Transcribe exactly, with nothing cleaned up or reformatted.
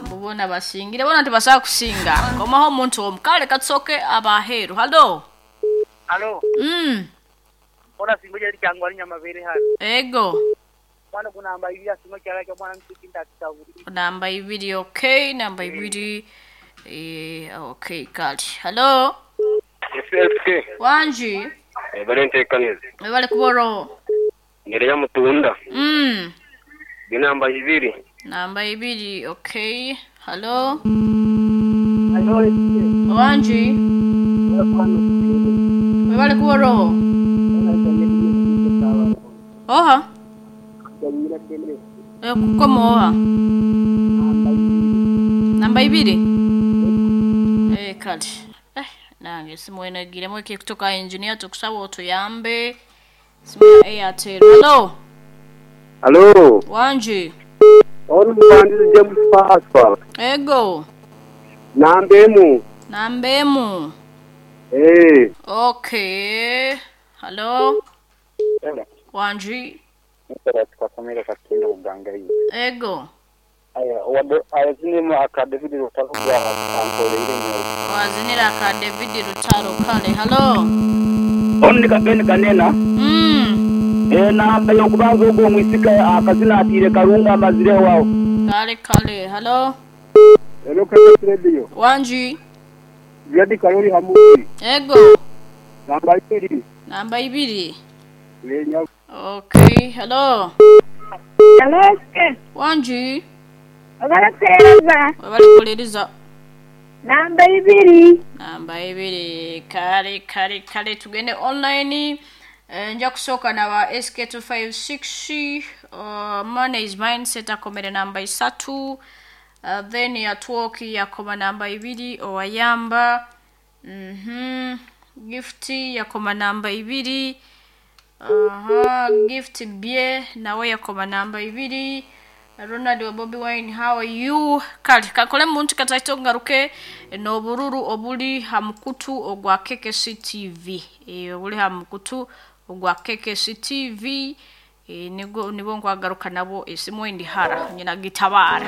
Bubona basingire bona tibasobola kusinga. Komaho omuntu omu kale katusooke abaheeru. Halo. Alo, Mm. ona singo jali kyangwa ali nyamabere hano. Ego. Mwana kunamba ibiri asingo kyala kya mwana msiki ndakitabuli. Namba ibiri, okay, namba ibiri. Eh, okay, kale. Halo. S S K. Wanji. Bari ntekaniriza. Webale kuboro. Ngereya mutunda. Mm. Namba ibiri. Namba ibiri, okay. Halo. Alo, Wanji. Webale kuboro. Oha. Eh, kukoma oha. Namba ibiri. Eh, kale. Eh, nange simu enagiremu eki kutoka engineer, tukusaba otuyambe. Simu ya Airtel. Hello. Halo. Wanji. Ono muwandizi James Pascal. Ego. Namba emu. Namba emu. Eh. Okay. Hello. Wanji. Twakomere kakinda kugangayi. Ego. Aya wado ayazinemo aka David Rutaro gwa ankoleire nyo. Wazinira ka David Rutaro, kale. Hello. Ono kapeni kanena. Mm. E namba yokubanza ogwo omwisika akazina atiire karunga amazire wawo. Kale kale. Hello. Hello, K K S Radio. Wanji. Jadi Karoli Hamusi. Ego. Namba ibiri. Namba ibiri. Lenya. Okay. Hello. Hello, Wanji. obalaseereza. Webale kukuliriza. Namba ibiri. Namba ibiri, kale kale kale. Tugende online. Eh, nja kusooka naba S K two five six, uh, money is mindset akomere namba isatu, uh, then yatwoki yakoma namba ibiri, owayamba mm gift yakoma namba ibiri. Aha, Gift Bie nawe yakoma namba ibiri. Ronald wa Bobi Wine, how are you? Kale kakole muntu kataito ngaruke n'obururu obuli ha mukutu ogwa K K C T V. E, obuli ha mukutu ogwa K K C T V, e, nigo nibo nkwagaruka nabo esimu endi hara nyina gitabara.